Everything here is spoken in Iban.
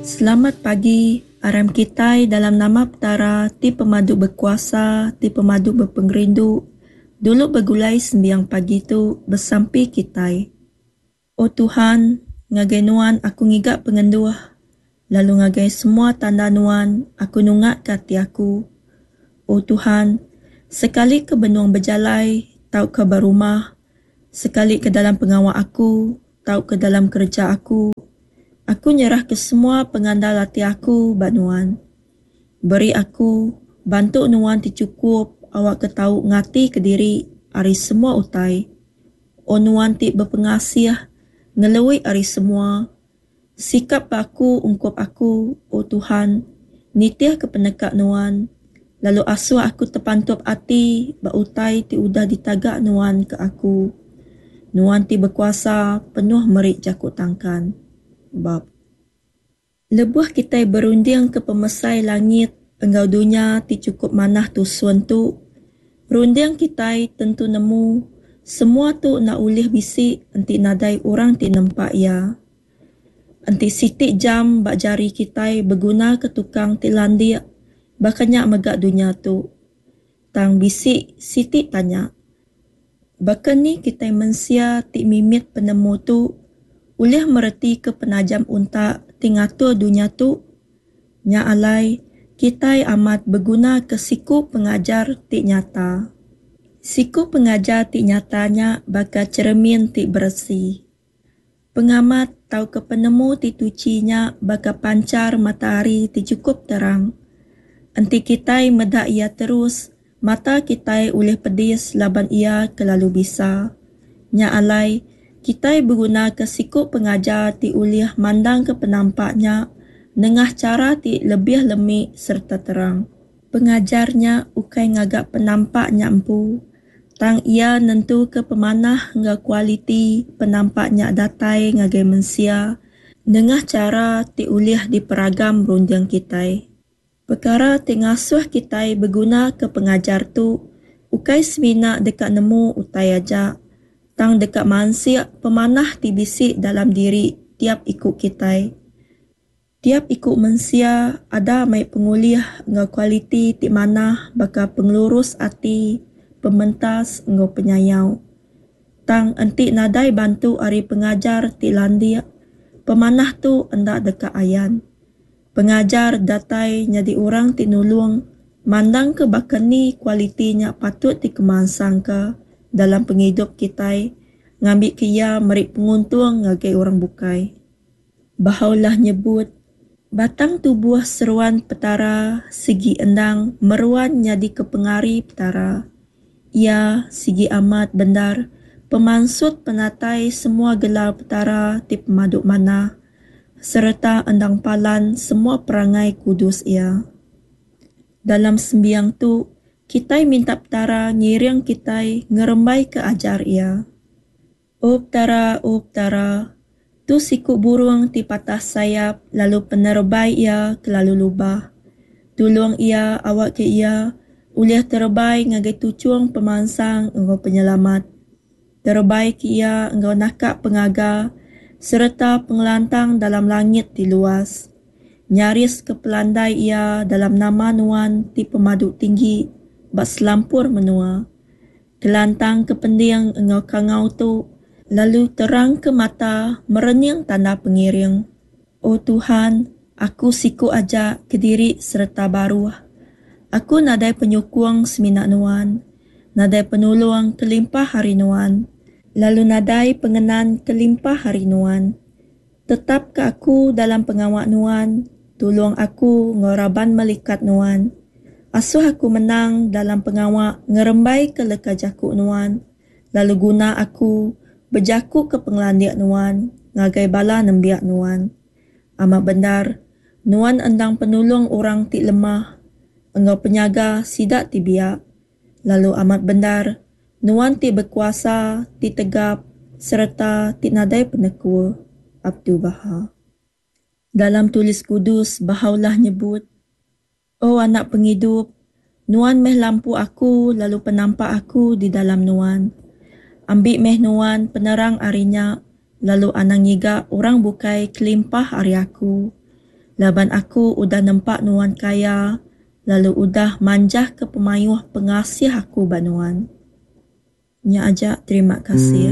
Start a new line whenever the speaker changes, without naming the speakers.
Selamat pagi, aram kitai dalam nama Petara ti pemadu bekuasa, ti pemadu bepengerindu, dulu begulai sembiang pagi tu besampi kitai. O Tuhan, ngagai Nuan aku ngiga pengenduh, lalu ngagai semua tanda Nuan aku nungaka ati aku. O Tuhan, sekali ke benung bejalai tauka ba rumah, sekali ke dalam pengawa aku tauka dalam kereja aku, aku nyerahka semua pengandal ati aku ba Nuan. Beri aku bantu Nuan ti chukup awakka tau ngatika diri ari semua utai. O Nuan ti bepengasih ngelui ari semua, sikap ba aku ungkup aku, O Tuhan, nitihka peneka Nuan, lalu asuh aku tepantup ati ba utai ti udah ditaga Nuan ke aku. Nuan ti bekuasa penuh meri jaku tangkan. Bab. Lebuh kitai berundingka pemesai langit enggau dunya ti chukup manah tusun tu, runding kitai tentu nemu semua tu enda ulih bisi enti nadai orang ti nempa iya. Enti siti jam ba jari kitai begunaka tukang ti landik, baka nya mega dunya tu. Tang bisi siti tanya. Baka ni kitai mensia ti mimit penemu tu ulih meretika penajam untak ti ngatur dunya tu? Nya alai, kitai amat begunaka siku pengajar ti nyata. Siku pengajar ti nyata nya baka cheremin ti beresi. Pengamat tauka penemu ti tuchi nya baka panchar matahari ti chukup terang. Enti kitai meda iya terus, mata kitai ulih pedis laban iya kelalu bisa. Nya alai, kitai begunaka siku pengajar ti ulih mandangka penampak nya nengah chara ti lebih lemi sereta terang. Pengajar nya ukai ngaga penampak nya empu, Tang iya nentuka pemanah enggau kualiti penampak nya datai ngagai mensia nengah chara ti ulih diperagam runding kitai. Pekara ti ngasuh kitai begunaka pengajar tu ukai semina deka nemu utai aja, tang deka mansik pemanah ti bisi dalam diri tiap iku kitai. Tiap iku mensia ada mai pengulih enggau kualiti ti manah baka pengelurus ati, pementas enggau penyayau. Tang enti nadai bantu ari pengajar ti landik, pemanah tu enda deka ayan. Pengajar datai nyadi orang ti nulung mandangka baka ni kualiti nya patut dikemansangka dalam pengidup kitai ngambika iya meri penguntung ngagai orang bukai. Baha'u'llah nyebut, Batang tubuh seruan Petara sigi endang meruan nyadika pengari Petara. Iya sigi amat bendar pemansut penatai semua gelar Petara ti pemadu manah sereta endang palan semua perangai kudus Iya. Dalam sembiang tu, kitai minta Petara ngiring kitai ngerembaika ajar Iya. O Petara, O Petara, tu siku burung ti patah sayap lalu penerebai iya kelalu lubah. Tulung iya awakka iya ulih terebai ngagai tuchung pemansang enggau penyelamat. Terebai ke iya enggau naka pengaga sereta pengelantang dalam langit ti luas. Nyariska pelandai iya dalam nama Nuan ti pemadu tinggi ba selampur menua. Kelantang ke pending enggau kangau tu, lalu terang ke mata merening tanda pengiring. O Tuhan, aku siku aja kediri sereta baruh. Aku nadai penyukung semina Nuan, nadai penulung kelimpah ari Nuan, lalu nadai pengenan kelimpah ari Nuan. Tetapka aku dalam pengawa Nuan, tulung aku enggau raban melikat Nuan. Asuh aku menang dalam pengawa ngerembaika leka jaku Nuan, lalu guna aku bejakuka pengelandik Nuan ngagai bala nembiak Nuan. Amat bendar, Nuan endang penulung orang ti lemah enggau penyaga sida ti biak. Lalu amat bendar, Nuan ti bekuasa, ti tegap, sereta ti nadai penekul. Abdu'l-Bahá. Dalam Tulis Kudus, Bahá'u'lláh nyebut, O Anak Pengidup, Nuan meh lampu aku lalu penampak aku di dalam Nuan. Ambi meh Nuan penerang ari nya lalu anang ngiga orang bukai kelimpah ari aku. Laban Aku udah nempa nuan kaya lalu udah manjahka pemayuh pengasih Aku ba nuan. Nya aja terima kasih.